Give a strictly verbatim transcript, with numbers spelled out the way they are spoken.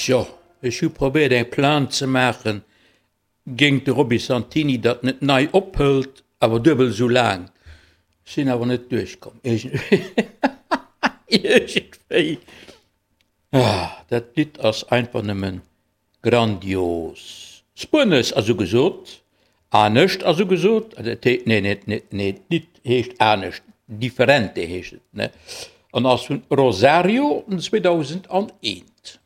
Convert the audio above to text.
Tjo, ech hu probéiert eng Plainte ze maachen géint de Roby Santini, datt en et nei ophëlt, awer duebel esou laang. Sinn awer net duerchkomm. Iergendwéi. Ah, dat Lidd ass einfach nëmmen grandios. Spuenesch ass ugesot, anescht ass ugesot, nee, nee, nee, nee, d'Lidd heescht anescht, Diferente heescht et, ne, an ass vun Rosario zweedausendaneent.